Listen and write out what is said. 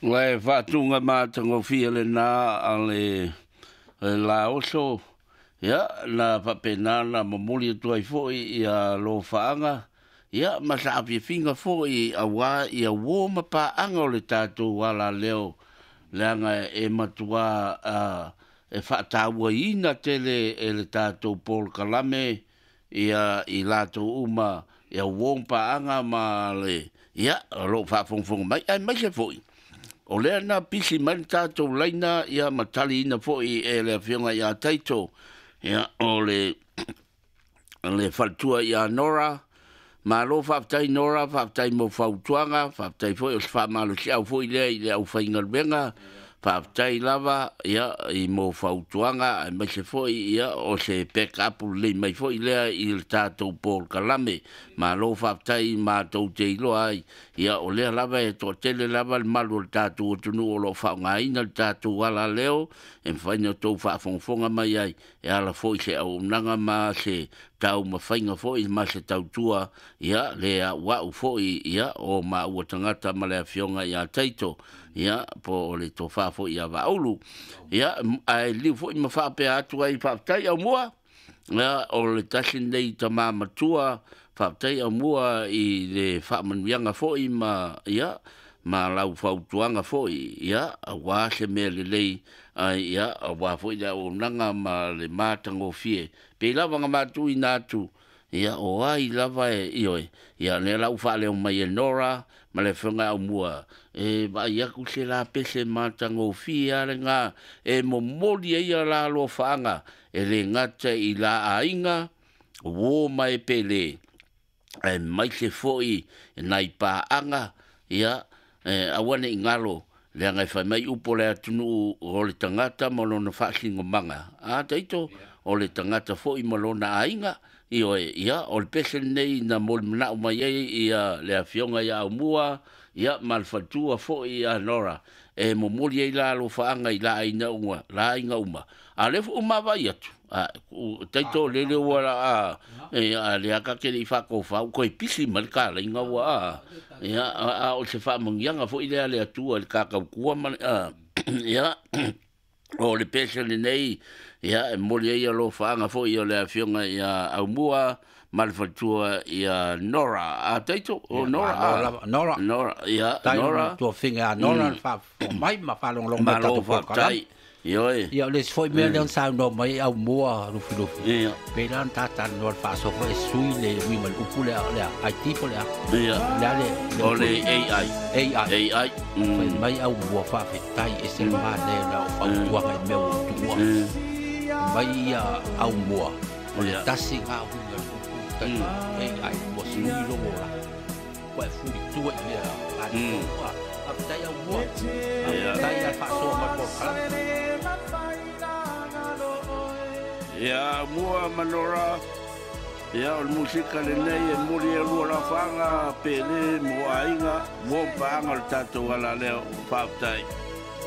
Ua e faatuga matagofie lena a le laoso, ia, na faapena ona momoli atu ai foi ia alofaaga, ia, ma saafiafiga foi auā ia uō ma paaga o le tatou alaleo, leaga e matuā e faatauaina tele e le tatou polokalame ia i latou uma ia uō ma paaga ma le, ia, o lo o faafogafoga mai, aemaise foi o lea na pisi mai le tatou laina, ia, ma taliina foi e le Afioga ia Taito, ia, o le faletua ia Nora. Malo faafetai Nora, faafetai mo fautuaga, faafetai foi o se faamalosiau foi lea i le aufaigaluega. Faafetai lava, ia, i mo fautuaga, aemaise foi, ia, o se backup lelei mai foi lea i le tatou polokalame. Malo faafetai, matou te iloa ai, ia, o lea lava e toatele lava le malu o le tatou atunuu o lo o faaaogaina le tatou alaleo e mafai ona outou faafogafoga mai ai e ala foi i se auaunaga ma se taumafaiga foi ma se tautua, ia, le auau foi, ia, o maua tagata ma le Afioga ia Taito, ia, po o le tofa foi ia Vaaulu. Ia, ae liliu foi ma faapea atu ai, faafetai Aumua, ia, o le tasi lenei tama matua, faafetai Aumua i le faamanuiaga foi ma, ia, ma lau fautuaga foi, ia, auā se mea lelei, ai, ia, auā foi le auaunaga ma le matagofie. Pei lava ona matuuina atu, ia, o ai lava e, ioe, ia, lea la ua faaleo mai e Nora ma le Afioga ia Aumua, e vaai atu se lapese matagofie lava lena e momoli ai ia la alofaaga, e le gata i la aiga, uō ma e pele, aemaise foi nai paaga, ia, e aua ne i galo, leaga e fai mai upu o le atunuu, o le tagata ma lona faasinomaga. A Taito, o le tagata foi ma lona aiga, ioe, ia, o le pese lenei na molimanao mai ai ia le Afioga ia Aumua, ia, ma le faletua foi ia Nora, e momoli ai la alofaaga i la aiga uma, la aiga uma. A o lea foi ua maavaai atu, Taito, lele ua a, a lea ta te le i faatofa, ua toe pisi mai le talaiga ua a, ia, a o se faamanuiaga foi lea a le Atua i le ta tautua ma le, a, ia, o le pese lenei, ia, e momoli ai alofaaga foi o le Afioga ia Aumua ma le faletua ia Nora. A Taito, o Nora, Malo lava, Nora. Nora, ia, Tai Nora. Tuafiga ia Nora le faafofoga mai ma faalogologo mai Malo tatou polokalame. faafetai. Ioe. Ia, o le isi foi mea lea na saunoa mai ai Aumua Lufilufi. Ia. Pei la ona tatalanoa le faasoa e sui le uiga o le upu lea, o le a? IT po o le a? Ia. Le a le O upu le AI. AI. AI. Fai mai Aumua faafetai ese le manaia na o fautuaga i mea ua ou tuua. Mai ia Aumua, o le tasi lena uiga o le upu taito AI ua sui logo la. Ua e fulitua i mea atoa. Faafetai Aumua. Faafetai a le faasoa mai polokalame. Ia, Aumua ma Nora, ia, o le musika lenei e momoli ai lua lafaga pele mo aiga, uo ma paaga o le tatou alaleo. Faafetai.